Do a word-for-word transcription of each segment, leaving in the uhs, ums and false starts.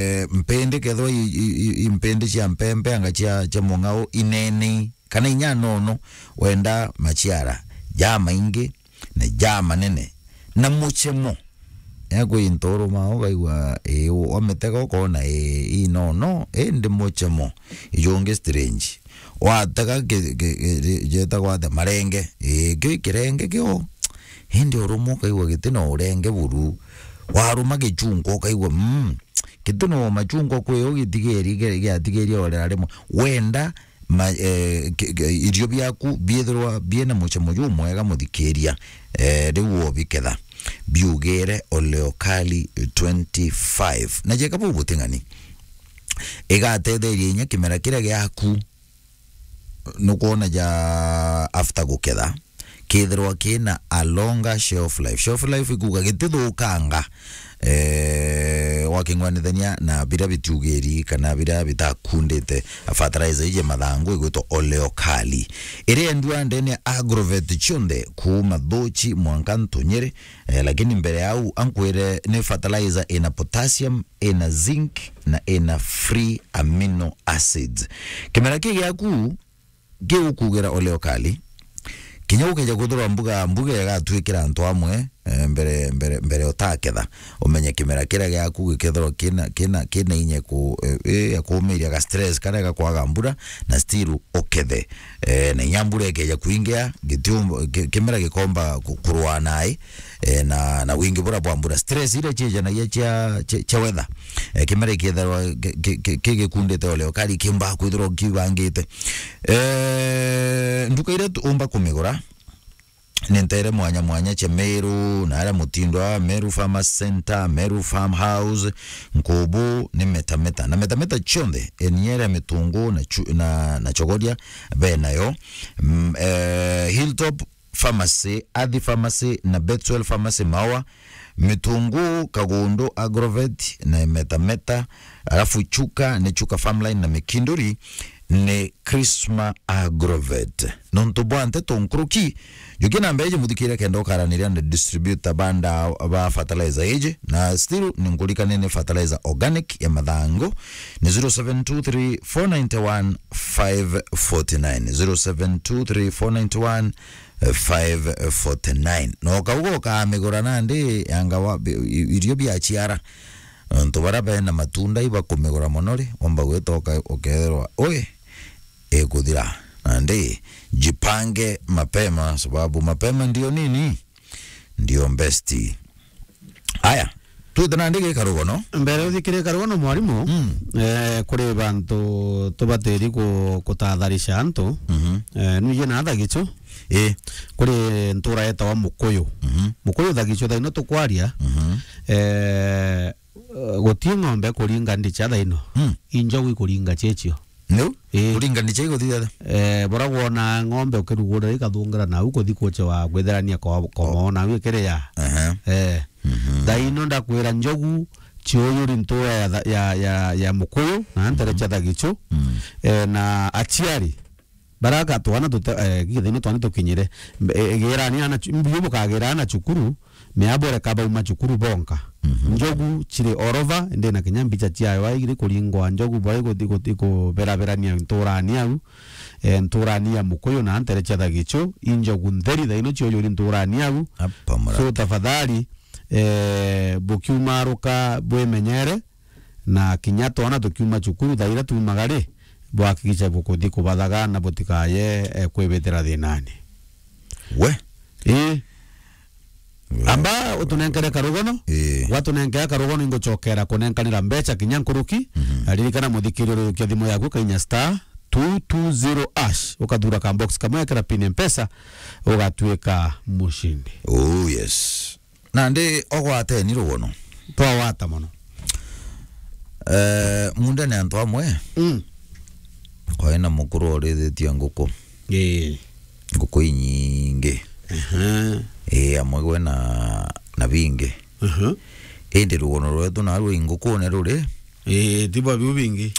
eh, mpindi kethwa i, i, i, i mpindi cia mpempe anga cia, cia mung'ao inene, kana inya nono, wenda maciara jamaingi na jamanene, na muchemo. Ekwi nturuma ukaigua, ii, wamitega ukona, ii, inono, indi muchemo. Ijungi strange. Watega ki, ki, ki, jetagwa atia? Marenge. Ii, kio kirenge kio. Indi uruma ukaigua giti na urenge buru. Waruma gichunku ukaigua, mm, giti na machungwa kwi u gitigeri, gi-, giatigeria orera rimwe. Wenda ma, eh, ki, ki, irio biaku biithirwa biina muchemo jumwega, muthikiria, eh, riu wobiketha, biugire Oleokali twenty-five. Na jeka bau buting'ani, igatetheria inya kimera kiria giaku, nukwona ja after guketha, kithirwa kina a longer shelf life. Shelf life ikuga gitithukanga, eh, waking'wanithania na biria bitiugiri kana biria bitakundite fertilizer iji mathangu igwitwa Oleokali, iria endua ndene ya Agrovet cionthe, kuuma Thuchi mwanka Ntunyiri. Eh, lakini mbere ya au, ankwire ni fertilizer ina potassium, ina zinc na ina free amino acids. Kimera kii giaku giu kugira Oleokali, kinya ukeja kwithirwa mbuga, mbuga igatwikira antu amwe, eh, mbere, mbere, mbere utaketha, umenye kimera kiria giaku gikethirwa kina, kina, kina inya ku, eh, eh, ya kumiria ga stress karia gakwaga mbura, na still ukethe. Eh, na inya mbura ikeja kuingia, gitiumba, ki-, kimera gikomba ku-, kurua nai, eh, na, na wingi bura bwa mbura. Stress iria ciejanagia cia, cia, cia weather, eh, kimera ikethirwa ki-, ki-, ki-, kigikundite Oleokali, kiumba kwithirwa kibangite. Eh, nduka iria tu-, umba kumigura ni ntere mwanya mwanya cia Meru, na aria Mutindwa, Meru Farmers Center, Meru Farmhouse, Nkubu, ni Meta Meta. Na Meta Meta cionthe, eniere Mitungu na chu-, na, na Chogoria benayo. Mm, eh, Hilltop Pharmacy, Athi Pharmacy na Betwell Pharmacy Maua, Mitungu, Kagundu, Agrovet na Meta Meta, alafu Chuka ni Chuka Farmline na Mikinduri ni Crisma Agrovet. Nontu bwa nteto nkuruki, jukia namba iji muthikire kenda ukaraniria na distributor banda ba fertilizer iji, na still ni nkurikanie ni fertilizer organic ya mathangu, ni zero seven two three four nine one five forty nine, zero seven two three four nine one five forty nine. Na ukauga ukamigura nandi yanga wa, bi-, i-, irio biaciara. Nontu baria bena matunda ibakumigura mono ri, womba gwita uka-, ukethirwa ui ikuthira. Nandi jipange mapema, sababu mapema ndio nini? Ndio best. Aya, twite nandi gikarugono. Mbere uthikire karugono mwarimu, mm, eh, kuri bantu tubatiri ku-, kutatharisha antu. Mhm. Eh, nuije na thagichu. Ii. Kuri ntura yetawa Mukuyu. Mhm. Mukuyu thagichu thaino tukwaria. Mhm. Eh, guti ng'ombe kuringa ndicha thaino. Mm. Injogu ikuringa chiechio. Niu? Ii. Kuringa ndicha iguthithia? Eh, bora wona ng'ombe ukirugurira ikathungira nau kuthi kuche wa kwitherania kwa, kwa, aha, mona au ikiria. Aha. Eh. Mhm. Thaino ndakwira njogu chiuyuri ntura ya tha-, ya, ya, ya Mukuyu, na ntere, mhm, cha thagichu. Mm. Eh, na achiari, baraka twana tute-, eh, githaino twana tukinyire. Mbe-, eh, gerani ana chu-, mbiu bukagira ana chukuru, miabore kabauma chukuru bonka. Mhm. Njogu chiri orova, ndi na kinya mbicha chiayo, aigiri kuringwa njogu, bari guthi, guthi kuberaberania nturani au, eh, nturani ya Mukuyu na ntere cha thagichu, injogu ntheri thaino chiuyuri nturani au. Apa murata. So, tafadhali, eh, bukiumaruka bwimenyere, na kinya twana tukiuma cukuru, thaira tumaga ri, bwakikisha bukuthi kubathaga na butikaye, eh, kwibitira thinani. We? Ii. We. Amba utunenkere karugono. Ii. Watunenkera karugono, inguchokera kunenkanira mbecha kinya nkuruki. Mhm. Na ririkana muthikirio, rurukia thimu yaku, kainya star two two zero hash, ukathura ka box kamwe, ekera pin Mpesa, ugatuika mushindi. Oh, yes. Nandi ogwateni rugono. Twawata mono. Eh, munda ni antu amwe. Mm. Kwai na mukuru orithitie nguku. Ii. Nguku inyingi. Aha. Ii, amwe gwe na, na bingi. Aha. Indi rugono rwetu narwo i ngukune ruri. Ii, tibo biu bingi.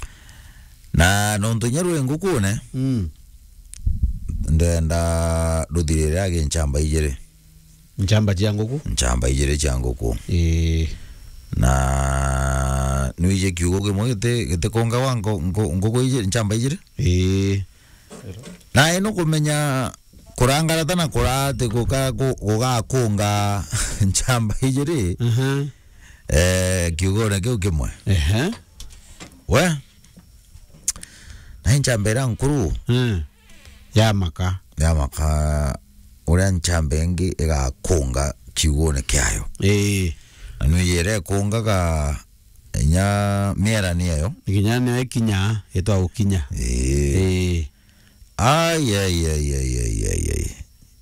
Na nontu inya rwi ngukune, mm, ndenda ruthirire agi nchamba ijiri. Nchamba cia nguku? Nchamba ijiri cia nguku. Ii. Na nwije kiugo kimwe giti-, gitikongagwa nko-, nko-, nguku iji-, nchamba ijiri? Ii. Na ino kumenya kurangarata na kurati guka-, gu-, gugakunga nchamba ijiri, Mhm. eh, kiugone kiu kimwe. Ehe. We, na nchamba iria nkuru, Mm. Ya maka. Ya maka, uria nchamba ingi igakunga kiugone kiayo. Ii. Na nwije ikungaga inya miera niyo. Kinya niyo ikinya, itwa gukinya. Ii. Ii. Ai, ai, ai, ai, ai, ai, ai.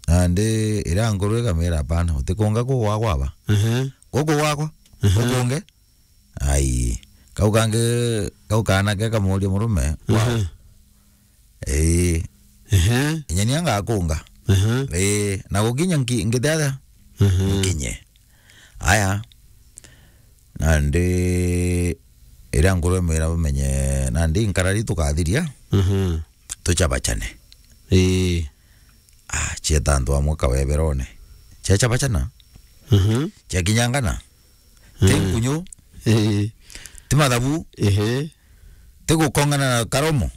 Nandi iria nkuru ikamira, "Hapana, utikunga guku gwakwa aba." Ehe. Guku gwakwa? Ehe. Gukunge? Ai. Kau kangi, kau kaana ke kamuria murume, "Wow." Ehe. Ii. Ehe. Inya nia ngakunga. Ehe. Ii. Na gukinya nki-, ngite atia? Ehe. Nkinye. Aya. Nandi iria nkuru imwira bamenye, nandi nkarari tukathiria, Mhm. tuchabachane. Ii. Ah, cieta antu amwe kaweberone. Ciachabachana? Mhm. Ciakinyangana? Ti Mm. nkunyu? Ii. Ti mathabu? Ehe. Ti gukongana na karomo?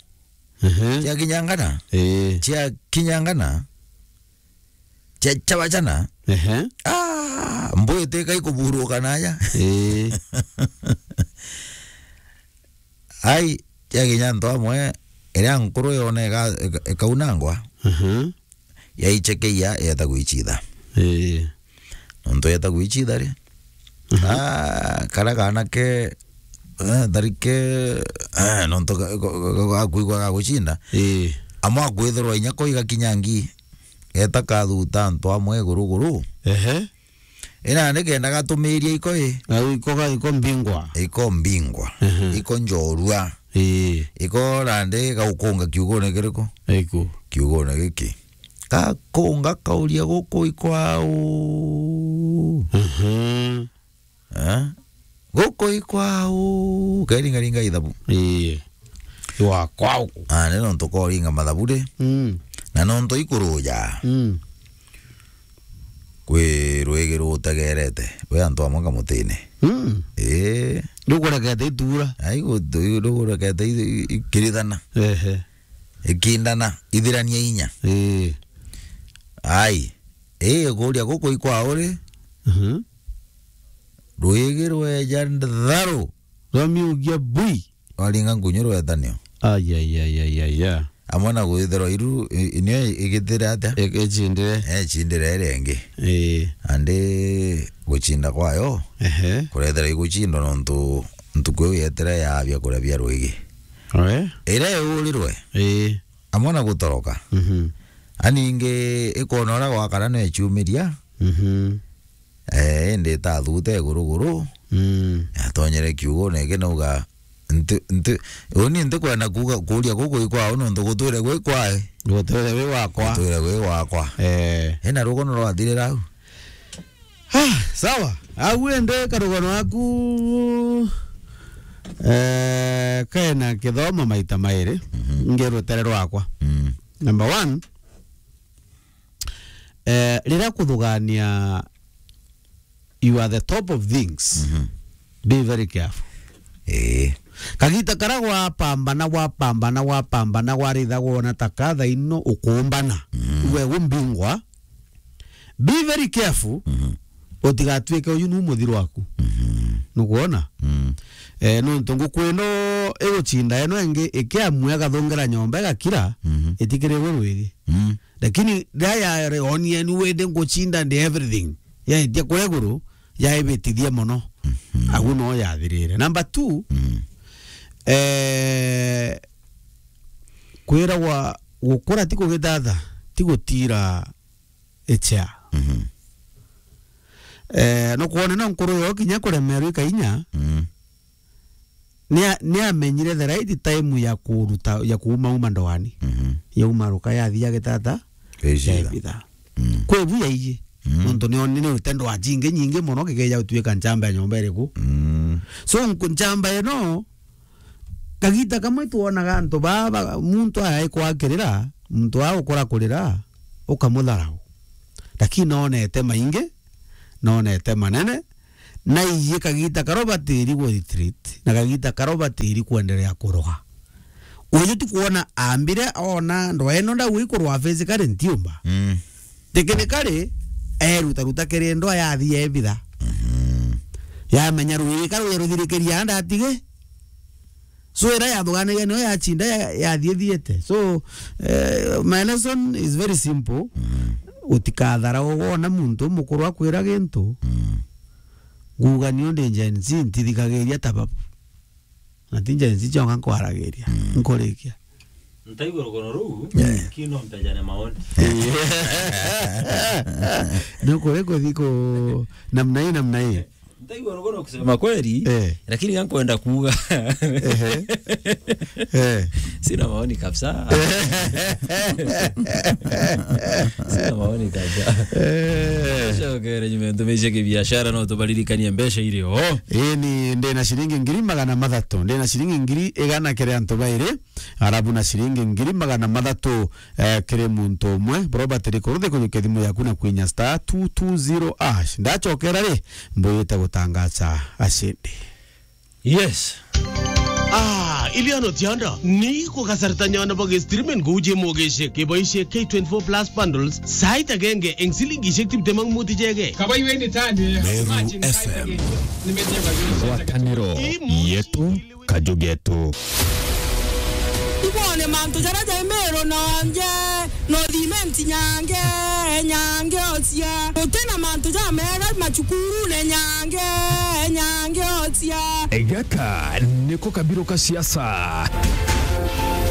Ehe. Ciakinyangana? Ii. Ciakinyangana? Cia-, ciachabachana? Ehe. Ah, mbuyu tika ikuburuka naja. Ii. Ai, ciakinya antu amwe, iria nkuru yone ika-, ika-, ikaunangwa, Mhm. yaichekeia, yeta gwichitha. Ii. Nontu yeta gwichitha ri, Mhm. ah, karia kaana ke, eh, tharike, eh, nontu ga-, ga-, ga-, gakwigua gagucinda. Ii. Amwe akwithirwa inya ko igakinya ngi, geta kathuta antu amwe iguru guru. Ehe. Ina ni kenda gatumiria iko i. Na iko ga-, iko mbingwa. Iko mbingwa. Ehe. Iko njorua. Ii. Iko nandi gaukunga kiugone kiriku? Iku. Kiugone giki. Gakunga kauria guku ikwau. Mhm. Eh? Guku ikwau. Keringaringa ithabu. Ii. Iwa kwau. Ah, ni nontu koringa mathabu ri. Mm. Na nontu ikuruja. Mm. Kwi rwigi rutegerete. We antu amwe kamutine. Mm. Ii. Rukurekete itura. Ai, gu-, rukurekete i-, i-, ikirithana. Ehe. Ikindana, ithirania inya. Ii. Ai. Ii, kuria guku ikwau ri. Mhm. Rwigi rweja ntharu. Rwamiugia bui. Rwaringa nkunyu rwetanio. Ai, ai, ai, ai, ai, ai. Amwe na gwithirwa iru, i-, i-, nio igitire atia? I-, icindire. Eh, icindire iria ingi. Ii. Andi gucinda kwayo, Ehe. kurethira igucindwa nontu ntuku iu yetire ya biakuria bia rwigi. Oe? Iria iurirwe, Ii. amwe na gutoroka. Mhm. Aningi ikona uria gwakara no icumiria. Mhm. Eh, indi itathute iguru guru. Mm. Yatonyere kiugone iki nauga, nti, nti, uni ntikwenda kuuga, kuuria guku ikwao nontu gutwire gwi kwae. Gutwire gwi wakwa. Gutwire gwi wakwa. Eh. Ina rugono rwathirira au. Ah, sawa. Au ende karugano aku, eh, kena kithomo maita mairi. Mhm. Ngi rutere rwakwa. Mm. Number one, eh, riria kuthugania, you are the top of things. Mhm. Be very careful. Eh. Kagita karia gwapambana, gwapambana, gwapambana, gwaritha gwona ta ka thaino ukumbana. Mhm. We umbingwa. Be very careful. Mhm. Utigatuike uyu nu muthiro waku. Mhm. Nukwona? Mm. Eh, nontu nguku ino igucinda ino ingi ikiamua igathungera nyomba igakira, Mhm. itikirirwe rwigi. Mm. Lakini riria yareonia ni wende ngucinda ndi everything, yaetia kuria iguru, yaibitithia mono. Mhm. Agu no yathirire. Number two, Mm. eh, kwiragwa gukura ti kugithatha, ti gutira ichea. Mhm. Eh, no kwone no nkuru yo kinya kuremerwa ikainya, Mm. Nia-, niamenyire the right time ya kuruta, ya kuuma uma ndoani. Mhm. Yauma ruka yathia gitata, Icitha. Yaibitha. Mm. Kwi bu yaiji. Mm. Nontu ni onire rutendo wa cingi nyingi mono, gikeja gutuika nchamba ya nyomba iriku. Mm. So, nku-, nchamba ino, kagita kamwe twonaga antu baa, ba-, muntu aya aikwakirira, muntu aa ukura kurira, ukamutharau. Lakini nonete maingi, nonete manene, Na iye kagita karo batiri ku retreat, na kagita karo batiri kuendelea kuroga. Uju ti kwona ambire ona ndwa ino ndau ikurwa physically ntiumba. Mm. Technically, eruta ruta kiri ndwa yathi yebitha. Mhm. Yamenya rwiri ka rwi ruthirikiria ndatige. So, ira yathuganiria niyo yachinda ya-, yathiethiete. So, eh, my lesson is very simple. Mm. Utikathara wona muntu mukuru akwira gintu. Mm. Nguga niyo ndi Gen Z, ntithikagiria ta babu. Na ti Gen Z cionka nkwaragiria. Mm. Nkurikia. Ntaigua rugono ruu, yeah, lakini no mpejane maoni. Nukuri kuthi ku namna hii, namna hii. Ntaigua rugono kusema kweli, eh, lakini gankwenda kuuga. Ehe. Eh. Sina maoni kabisa. Sina maoni kabisa. Eh. Cokere nyuma ntumice kibiashara, no tubaririkanie mbeca iri o. Ii ni ndina ciringi ngiri magana mathatu, ndina ciringi ngiri igana kiri antu bairi. Arabu na ciringi ngiri magana mathatu, eh, kiri muntu umwe. Bro, batiri kuruthi kujukia thimu yaku na kwinya star two two zero hash. Ndacokera ri, mbuyite gutangaca acindi. Yes. Ah, Iliano Tianda, ni kugasaritanya na boge streaming guje mogeshe, keboishe K twenty-four plus bundles, site agenge, eng silingishek tiptem ak mut ichege. Kabai weni tani, Meru F M. Ngwataniro yetu. Kajugetu. Ibone mantu jaria jai Meru nonje, no thimenti nyange, nyange ocia. Gutina mantu jamega macukurune nyange, nyange ocia. Gaka niko kabiru ka siasa.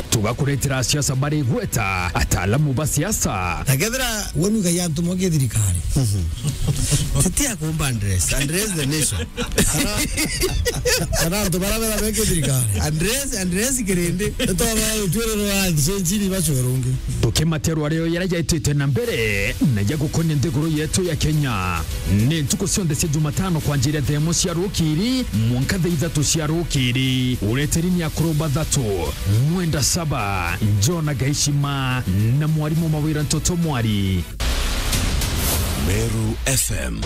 Tugakuretera siasa bari gweta ataalamu ba siasa. Na kethira woni ugai antu moke thirikari. Mhm. Titi akumba address, address the nation. Kana, kana antu bara bera beke thirikari. Address, address kirindi. Nitwaba utwiriro wa nchini bacwerungi. Tukimaterwa rio yara jaitite na mbere na ya gukonia nthiguru yetu ya Kenya. Ni ntuku cionthe cia Jumatano kwanjiria thaa imwe cia rukiri mwanka thaa ithatu cia rukiri. Ureteri ni akuru bathatu, Mwenda Saba, Jona Gaishima na mwarimu Mawira Ntoto Mwari. Meru F M.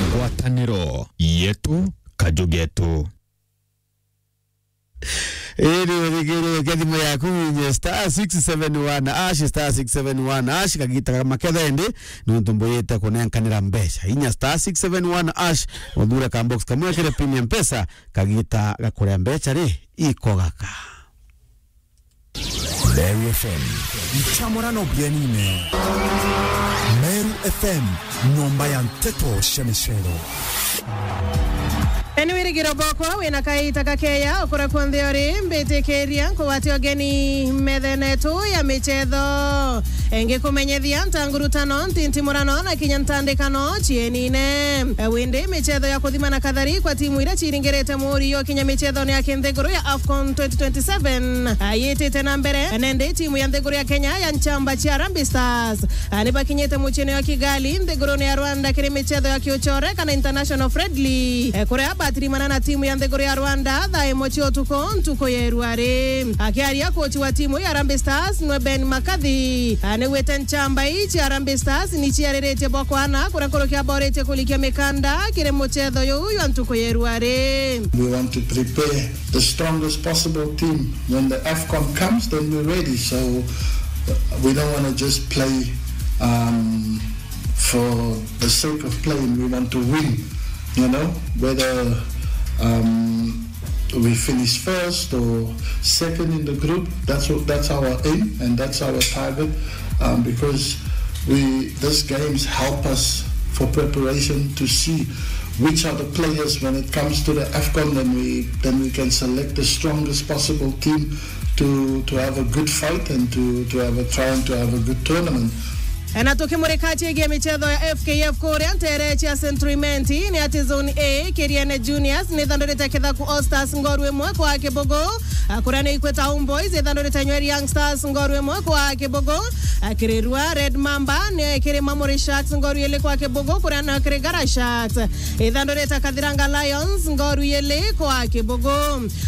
Ngwataniro yetu, kajugetu. Iri uthikiririe thimu yaku winye star six seven one hash, star six seven one hash, kagita ga maketha indi, nontu mbuyite kunenkanira mbeca. Inya star six seven one hash, uthure ka box kamwe kiri pin ya Mpesa, kagita ga kuria mbeca ri, iko gaka. Meru F M. Nchamura no bienine. Meru F M, nyomba ya nteto cia micero. Ni wirigiro bwakwa wina kaita gakeya ukura kunthe uri, mbitikiria nkugwate ugeni methene yetu ya michetho. Ngikumenyethia ntangurutano, ntintimurano na kinya ntandikano cienine. Windi michetho ya kuthima na kathari kwa timu iria ciringirite muri yo kinya michethone ya kinthiguru ya AFCON twenty twenty-seven, ah, yitite na mbere, na indi timu ya nthiguru ya Kenya ya Nchamba cia Harambee Stars, ah, ni bakinyite muciine wa Kigali, nthigurune ya Rwanda, kiri michetho ya kiuchore kana international friendly, eh, kuria batirimana na timu ya nthiguru ya Rwanda thaa imwe cia utuku, ntuku ya irua ri. Akiaria kochi wa timu ya Harambee Stars, nwe Ben Makathi, ah, ni gwite Nchamba ii cia Harambee Stars ni ciariritie bwa kwana, kuria nkuruki aboritie kulikia mikanda kiri muchetho juu jwa ntuku ya irua ri. We want to prepare the strongest possible team. When the AFCON comes, then we're ready. So, uh, we don't wanna just play, um, for the sake of playing. We want to win, you know, whether, um, we finish first or second in the group. That's what, that's our aim and that's our target, um, because we, these games help us for preparation to see which are the players when it comes to the AFCON, then we, then we can select the strongest possible team to, to have a good fight and to, to have a try and to have a good tournament. Na tukimurika ciigie michetho ya F K F kuria ntere cia Century Menti, ni ati Zone A, Kiriene Juniors ni ithandurite Kithaku All Stars ngoru imwe kwa kibugu, kuria ni Ikweta Homeboys ithandurite Nyeri Young Stars ngoru imwe kwa kibugu, Kirirua Red Mamba ni kiri Mamuri Sharks ngoru ili kwa kibugu, kuria na Kirigara Sharks ithandurite Kathiranga Lions ngoru ili kwa kibugu.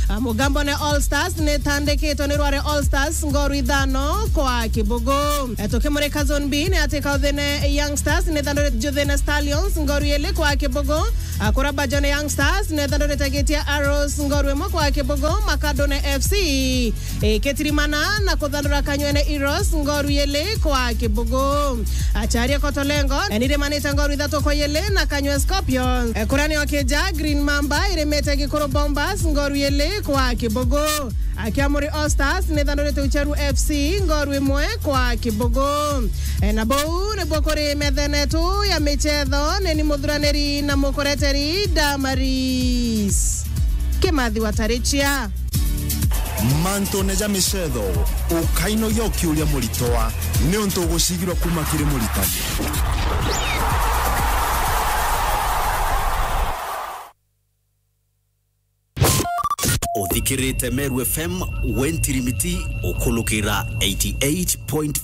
Ah, Mugambone All Stars ni itandikitwe ni Rware All Stars ngoru ithano kwa kibugu. Eh, tukimurika Zone B, Ni ati Kauthene Young Stars ni thandurite Juthene Stallions ngoru ili kwa kibugu. Akura Bajone Young Stars ni thandurite Gitia Arrows ngoru imwe kwa kibugu. Makadone F C ikitirimana na kuthandura Kanywene Heroes ngoru ili kwa kibugu. Acharia Kotolengo ni rimanite ngoru ithatu kwa ili na Kanywe Scorpions. Kurani o kija Green Mamba irimite Gikuru Bombers ngoru ili kwa kibugu. Akiamuri All Stars ni thandurite Ucheru F C ngoru imwe kwa kibugu. E, na bou nibwo kuri methene yetu ya michetho, ni ni muthuraniri na mukureteri Damaris Kimathi wa Tarichia. Mantune ja michetho, ukainogia ukiuria Muritoa, niuntu ugucigirwa kuma kiri Muritani. Uthikirite Meru F M, we ntirimiti, ukulukira eighty eight point